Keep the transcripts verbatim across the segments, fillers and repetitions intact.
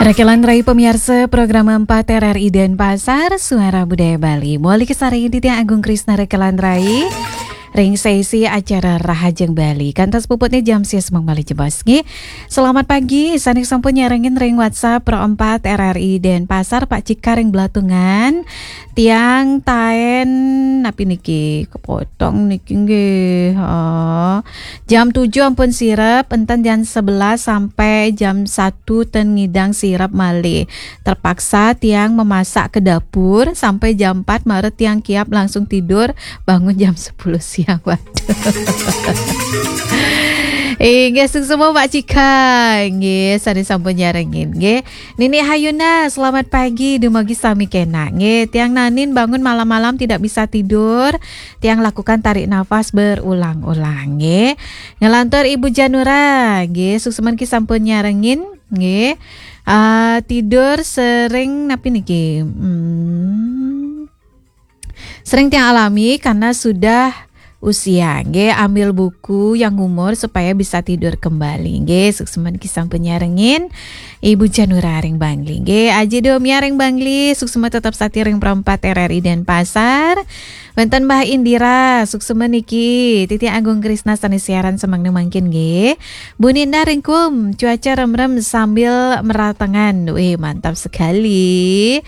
Rekelan Rai pemirsa program empat R R I Denpasar, Suara Budaya Bali. Moli kesarengin titiang Agung Krisna Rekelan Rai. Ring sesi acara Rahajeng Bali. Kantos puputnya jam sia semeng malih jebos nggih. Selamat pagi, sané sampun nyarengin ring WhatsApp Pro empat R R I Denpasar, Pak Cika ring Belatungan. Tiang taén napi niki? Kepotong niki nggih. Oh. Jam tujuh ampun sirep, enten jam sebelas sampai jam satu ten ngidang sirep malih. Terpaksa tiang memasak ke dapur sampai jam empat, mara tiang kiap langsung tidur, bangun jam sepuluh siang. Waduh. Inggih, suksma Pak Cika. Nggih, sané sampun nyarengin nggih. Nini Hayuna, selamat pagi, dumugi sami kenak nggih. Tiang nanin bangun malam-malam tidak bisa tidur. Tiang lakukan tarik nafas berulang-ulang nggih. Ngelantur Ibu Janura nggih, suksma niki sampun nyarengin nggih. Ah, tidur sering napi niki? Hmm. Sering tiang alami karena sudah usia nggih, ambil buku yang umur supaya bisa tidur kembali nggih. Suksma niki sampun nyarengin Ibu Janura ring Bangli nggih. Aji Domia ring Bangli, suksma tetep sati ring Pro empat R R I Denpasar. Wénten Mbah Indira, suksma niki, titiang Agung Krisna sané siaran semeng mangkin nggih. Bu Ninda ring Kum, cuaca remrem sambil meratengan. Wih, mantap sekali.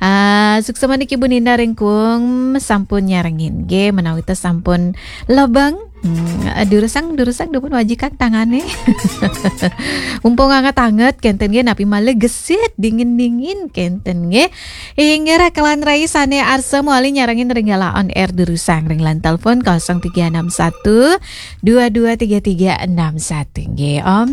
Ah, suksma niki Bu Ninda ring Kum, sampun nyarengin nggih, menawi tos sampun lebeng. Hmm, ah, durusang, durusang dumun wajikan tangané. Mumpung anget-anget kénten nggih, napi malih gesit dingin-dingin kénten nggih. Inggih, Rekelan Rai sané arsa malih nyarengin ring galah on air durusang ring line telepon kosong tiga enam satu dua dua tiga tiga enam satu nggih. Om